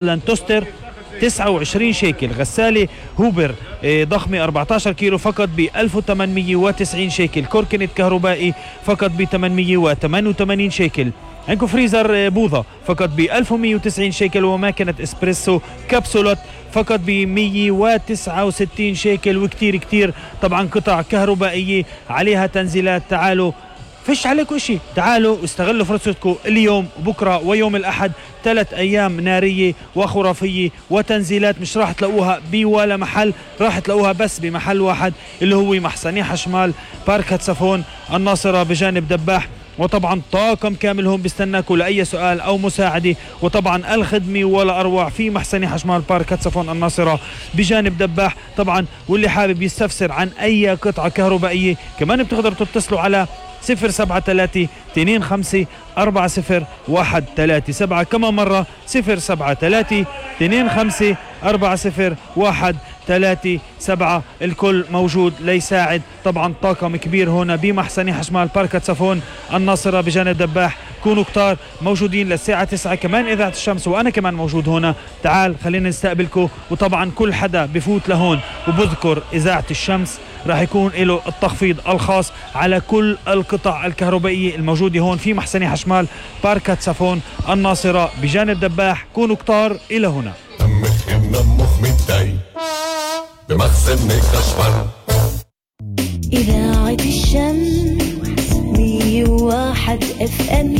توستر 29 شيكل. غسالة هوبر ضخمة 14 كيلو فقط ب 1890 شيكل. كوركنت كهربائي فقط ب 888 شيكل. عندكم فريزر بوظة فقط ب 1190 شيكل. وماكينة اسبريسو كبسولات فقط ب 169 شيكل. وكتير كتير طبعا قطع كهربائية عليها تنزيلات. تعالوا فيش عليكم اشي، تعالوا استغلوا فرصتكم اليوم وبكرة ويوم الأحد. 3 أيام نارية وخرافية وتنزيلات مش راح تلاقوها بولا محل، راح تلاقوها بس بمحل واحد اللي هو محسني حشمال بارك هتسفون الناصرة بجانب دباح. وطبعا طاقم كامل هون بيستناكوا لأي سؤال أو مساعدة. وطبعا الخدمة ولا أروع في محسني حشمال بارك هتسفون الناصرة بجانب دباح طبعا. واللي حابب يستفسر عن أي قطعة كهربائية كمان بتقدروا تتصلوا على 073-25-40-137. كما مرة 073-25-40-137. الكل موجود ليساعد. طبعا طاقم كبير هنا بمحسني حشمال بارك هتسفون الناصرة بجانب دباح. كونوا كتار موجودين للساعة 9. كمان إذاعة الشمس وأنا كمان موجود هنا. تعال خلينا نستقبلكم. وطبعا كل حدا بفوت لهون وبذكر إذاعة الشمس راح يكون له التخفيض الخاص على كل القطع الكهربائية الموجودة هون في محسني حشمال بارك هتسفون الناصرة بجانب دباح. كونوا كتار إلى هنا. إذاعة الشمس 101 FM.